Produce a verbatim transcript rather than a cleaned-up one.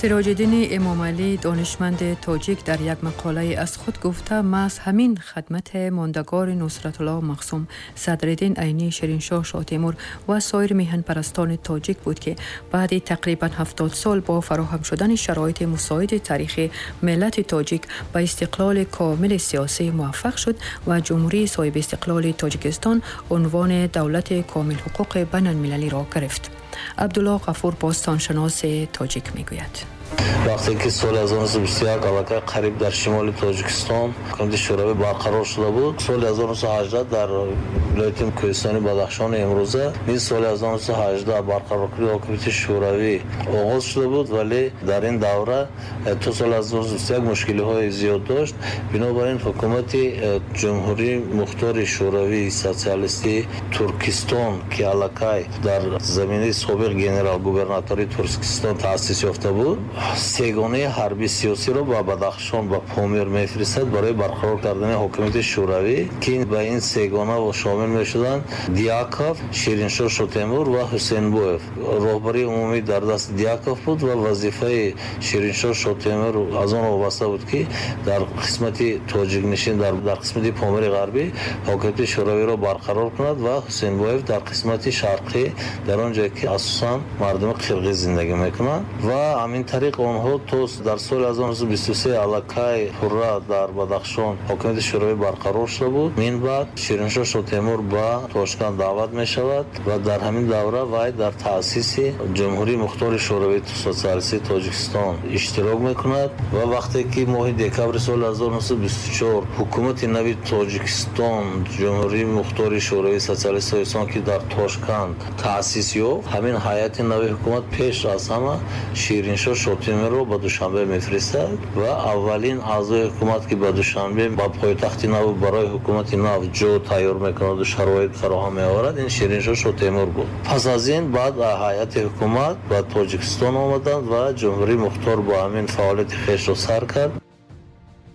Сироҷиддини Эмомалӣ, донишманди тоҷик, дар як мақолае аз худ гуфта, маҳз ҳамин хадмати мондагори Нусратулло Махсум, Садриддин Айнӣ, Шириншоҳ Шоҳтемур ва соир меҳанпарастони тоҷик буд, ки баъди тақрибан ҳафтод сол бо фароҳам шудани шароити мусоиди таърихӣ миллати тоҷик ба истиқлоли комили сиёсӣ муваффақ шуд ва Ҷумҳурии соҳиби истиқлоли Тоҷикистон унвони давлати комилҳуқуқи байналмилалиро гирифт. Абдулло Ғафур, бостоншиноси тоҷик, мегӯяд: Вақте ки соли ҳазору нӯҳсаду бисту як аллакай қариб дар шимоли Тоҷикистон ҳукумати Шӯравӣ барқарор шуда буд, соли ҳазору нӯҳсаду ҳаждаҳ дар вилояти кӯҳистони Бадахшони имрӯза низ соли ҳазору нӯҳсаду ҳаждаҳ барқароркунии ҳукумати Шӯравӣ оғоз шуда буд, вале дар ин давра э, то соли ҳазору нӯҳсаду бисту як мушкилиҳои зиёд дошт. Бинобар ин ҳукумати э, Ҷумҳурии Мухтори Шӯравии Социалистии Туркистон, ки аллакай дар заминаи собиқ генерал-губернатории Туркистон таъсис ёфта буд, сегонаи ҳарби сиёсиро ба Бадахшон, ба Помир мефиристад барои барқарор кардани ҳокимияти Шӯравӣ, ки ба ин сегона шомил мешуданд Дьяков, Шириншоҳ Шотемур ва Ҳусейнбоев. Роҳбарии умумӣ дар дасти Дьяков буд ва вазифаи Шириншоҳ Шотемур аз он вобаста буд, ки дар қисмати тоҷикнишин, дар қисмати Помири Ғарбӣ ҳокимияти Шӯравиро барқарор кунад ва Ҳусейнбоев дар қисмати шарқӣ, дар он ҷое ки асосан мардуми қирғиз зиндагӣ мекунанд. Ва ҳамин тариқ онҳо то дар соли ҳазору нӯҳсаду бисту се аллакай пурра дар Бадахшон ҳокимияти Шӯравӣ барқарор шуда буд. Мин баъд Шириншоҳ Шотемур ба Тошканд даъват мешавад ва дар ҳамин давра вай дар таъсиси Ҷумҳурии Мухтори Шӯравии Социалистии Тоҷикистон иштирок мекунад. Ва вақте ки моҳи декабри соли ҳазору нӯҳсаду бисту чор ҳукумати нави Тоҷикистон, Ҷумҳурии Мухтори Шӯравии Социалистии Тоҷикистон, ки дар Тошканд таъсис ёфт, ҳамин ҳайати нави ҳукумат пеш аз ҳама Шириншоҳ Шотемурро ба Душанбе мефиристад ва аввалин аъзои ҳукумат, ки ба Душанбе, ба пойтахти нав, барои ҳукумати нав ҷо тайёр мекунаду шароит фароҳам меоварад, ин Шириншоҳ Шотемур буд. Пас аз ин баъд ҳайати ҳукумат ба Тоҷикистон омаданд ва Ҷумҳурии Мухтор бо ҳамин фаъолияти хешро сар кард.